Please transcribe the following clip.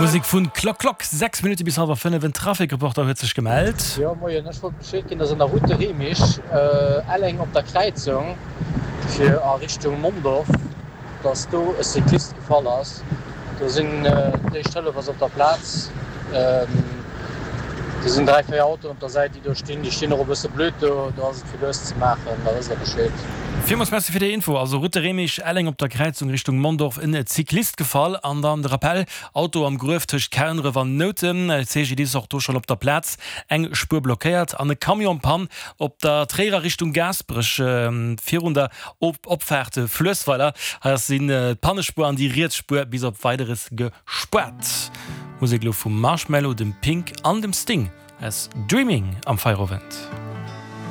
Musek vun Klock Klock, 6 Minutte bis hallwer 5. En Trafic-Reporter huet sech gemellt. Jo moien, ech wollt Bescheed ginn, dass an der Route de Remich, Elleng op der Kräizung fir a Richtung Mondorf, dass do e Cyclist gefall ass. Do sinn d'éischt Hëllef ass op der Plaz. Do sinn 3, 4 Autoen op der Säit déi do stinn. Déi stinn och e bësse blöd do. Do ass et fir lues ze maachen, da wësst der Bescheed. Villmools Merci fir déi Info. Also Route de Remich, Elleng op der Kräizung Richtung Mondorf en Cyclist gefall. An dann de Rappell, Auto am Gruef tëscht Kernref an Noutem, CGDIS och do schonn op der Plaz, eng Spuer blockéiert an e Camion Pann op der Tréierer Richtung Gaasperech virun der Opfaart Fluessweiler. Hei ass sinn d'Pannespuer an déi riets Spuer bis op Weideres gespaart. Musek elo vum Marshmello, dem Pink an dem Sting. Hei ass Dreaming am Feierowend.